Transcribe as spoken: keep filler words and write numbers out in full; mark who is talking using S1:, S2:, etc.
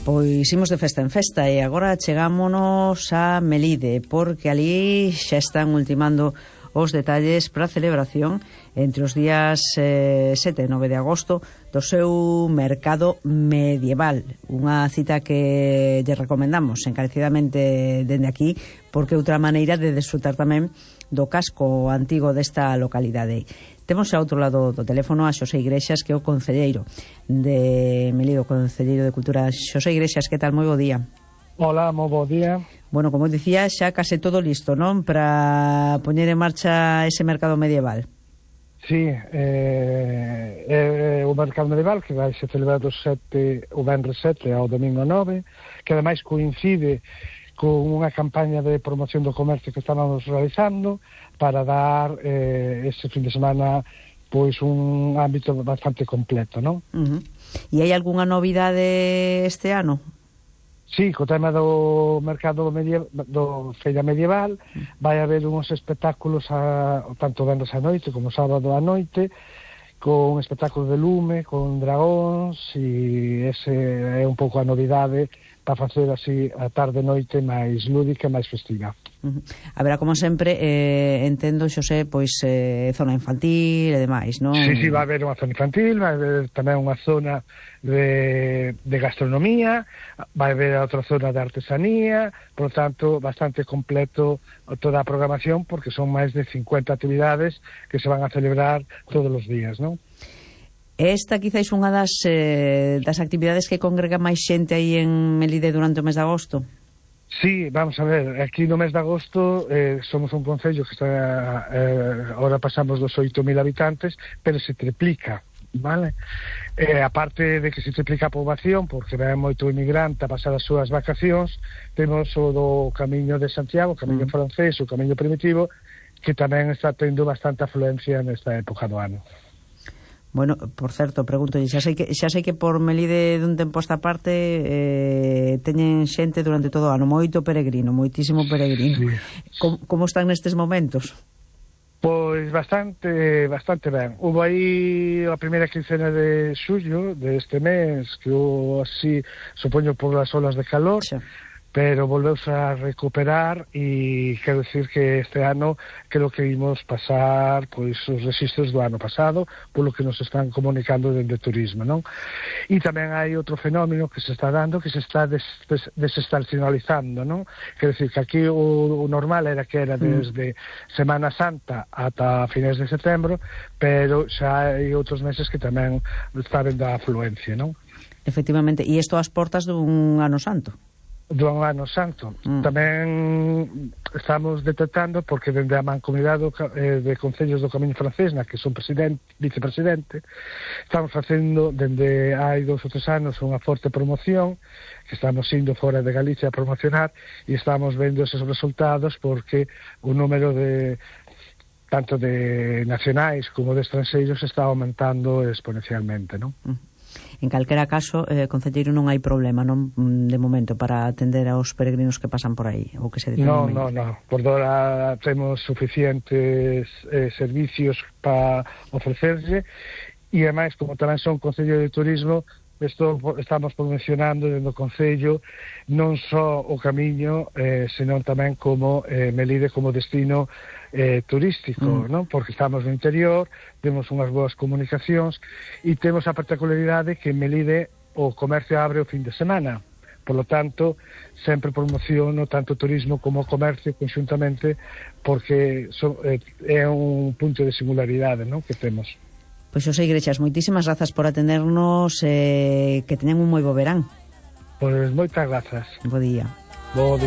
S1: Pois imos de festa en festa e agora chegámonos a Melide, porque ali xa están ultimando os detalles para a celebración entre os días eh, sete e nove de agosto do seu mercado medieval. Unha cita que lle recomendamos encarecidamente dende aquí, porque é outra maneira de desfrutar tamén do casco antigo desta localidade. Temos ao outro lado do teléfono a Xosé Igrexas, que é o concelleiro de Melide, o concelleiro de Cultura. Xosé Igrexas, que tal? Moi bo día.
S2: Hola, moi bo día.
S1: Bueno, como dicía, xa case todo listo, non? Para poñer en marcha ese mercado medieval.
S2: Sí, eh, é o mercado medieval que vai se celebrar do sete, o venres sete ao domingo nove, que ademais coincide con unha campaña de promoción do comercio que estábamos realizando para dar eh, ese fin de semana pois un ámbito bastante completo, non?
S1: Uh-huh. E hai algunha novidade este ano?
S2: Sí, co tema do mercado medieval, do feira medieval, vai haber uns espectáculos a, tanto venres a noite como sábado a noite, con espectáculos de lume, con dragóns, e ese é un pouco a novidade para facer así a tarde noite máis lúdica, máis festiva.
S1: Uh-huh. Haberá, como sempre, eh, entendo, Xosé, pois eh, zona infantil e demais, non?
S2: Sí, sí, vai haber unha zona infantil, vai haber tamén unha zona de, de gastronomía, vai haber outra zona de artesanía, por tanto, bastante completo toda a programación, porque son máis de cincuenta actividades que se van a celebrar todos os días, non?
S1: Esta quizáis unha das, eh, das actividades que congrega máis xente aí en Melide durante o mes de agosto?
S2: Sí, vamos a ver, aquí no mes de agosto eh, somos un concello que está, eh, ahora pasamos dos oito mil habitantes, pero se triplica, vale? Eh, aparte de que se triplica a poboación, porque ven moito inmigrante a pasar as súas vacacións, temos o do Camiño de Santiago, o Camiño mm. francés, o Camiño primitivo, que tamén está tendo bastante afluencia nesta época do ano.
S1: Bueno, por certo, pregunto, xa sei que xa sei que por Melide dun tempo esta parte eh, teñen xente durante todo o ano, moito peregrino, moitísimo peregrino. Sí. Como, como están nestes momentos?
S2: Pois bastante bastante ben. Hubo aí a primeira quincena de xullo deste mes, que hubo así, supoño por as olas de calor, xa, pero volveuse a recuperar e quero dicir que este ano creo que imos pasar pois os registros do ano pasado, polo que nos están comunicando dende turismo, non? E tamén hai outro fenómeno que se está dando, que se está des, des, desestacionalizando, non? Quero dicir que aquí o, o normal era que era desde Semana Santa ata finais de setembro, pero xa hai outros meses que tamén está vendo a afluencia, non?
S1: Efectivamente, e isto ás portas dun ano santo?
S2: Do ano santo. Mm. Tamén estamos detectando, porque dende a Mancomunidade eh, de Concellos do Camiño francés, na que son presidente, vicepresidente, estamos facendo dende hai dous ou tres anos unha forte promoción, que estamos indo fora de Galicia a promocionar, e estamos vendo esos resultados porque o número de tanto de nacionais como de estranxeiros está aumentando exponencialmente, non?
S1: Mm. En calquera caso, eh, concelleiro, non hai problema, non, de momento, para atender aos peregrinos que pasan por aí, ou que se dicen.
S2: No, no, no. Por ahora temos suficientes eh, servicios para ofrecerse, e ademais, como tamén son concello de turismo, Esto estamos promocionando dentro do Concello non só o Camiño, eh, senón tamén como eh, Melide como destino eh, turístico, mm. non? Porque estamos no interior, temos unhas boas comunicacións e temos a particularidade que en Melide o comercio abre o fin de semana. Por lo tanto, sempre promociono tanto o turismo como o comercio conxuntamente, porque so, eh, é un punto de singularidade, non? Que temos.
S1: Pois Xosé Igrexas, moitísimas grazas por atendernos, eh, que teñan un moi bo verán.
S2: Pois moitas grazas.
S1: Bo día.
S2: Bo día.